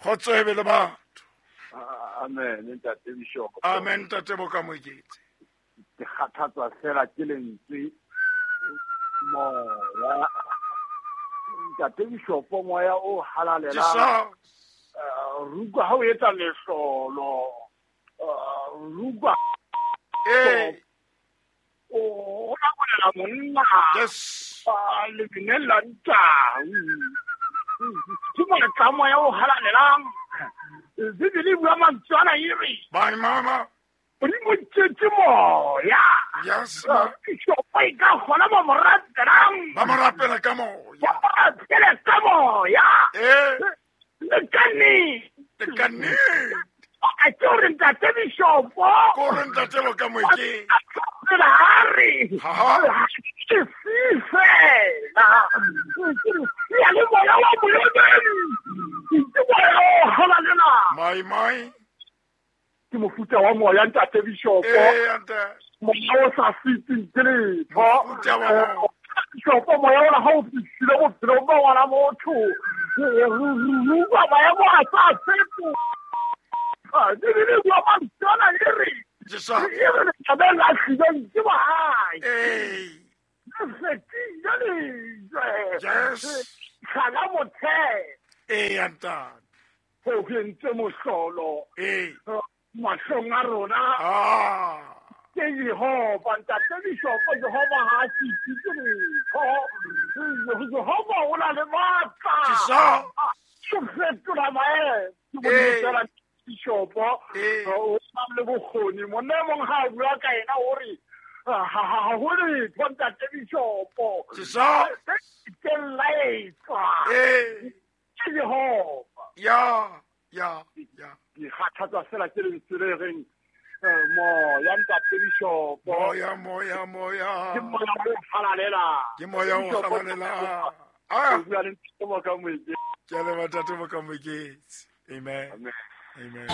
Kgotso e be le batho. Amen, ntate Bishop. Amen, ntate Bokamoketsi. Ke kgathatswa fela ke lentswe moya. Ntate Bishop, moya o halalelang. Rukwa ha o etsa mehlolo. Rukwa. O lakolela monna. Yes. Le binella ntau. Ke matla moya o halalelang. Bibele e bua mantswe ana e re. Bye mama. Modimo tšetse moya. Yes. Ma. Bishop e ka gona ba mo rapelang. Ba mo rapela ka moya. Ba mo rapele ka moya. Le ka nnete. Le ka nnete. A ke gore ntate Bishop. Ko gore ntate Bokamoketsi. Pela a re. Ke se fela. Ke sia le moya wa Modimo. Ke moya o halalelang. Mai mai. Ke mofuta wa moya ntate Bishop. Moya o sa feteng ke letho. Mofuta wa moya. Bishop, moya ona ha o fihlile bophelong ba ngwana motho. Rua maemo a sa fetoha. Bibele e bua mantswe ana e re. E re lethabeng la hlileng ke bohae. Le fetile lejwe. Yes. Tlhala motheo. Ntate. Ho entse mohlolo. Mahlong a rona. Ke Jehova, ntate Bishop, Jehova ha a fetise letho. Jehova o na le matla. Ke fetola maemo. Ke Modimo fela Bishop, o na le bokgoni. Monna e mong ha a bua ka ena o re ha ho letho ntate Bishop. Ke laetswa. Ke Jehova. Ya ya ya. Ke kgathatswa fela ke lentswe le reng moya ntate Bishop. Moya moya moya. Ke moya o halalelang. Ke moya o halalelang. O bua le ntate Bokamoketsi. Ke a leboha ntate Bokamoketsi. Amen. Amen. Amen.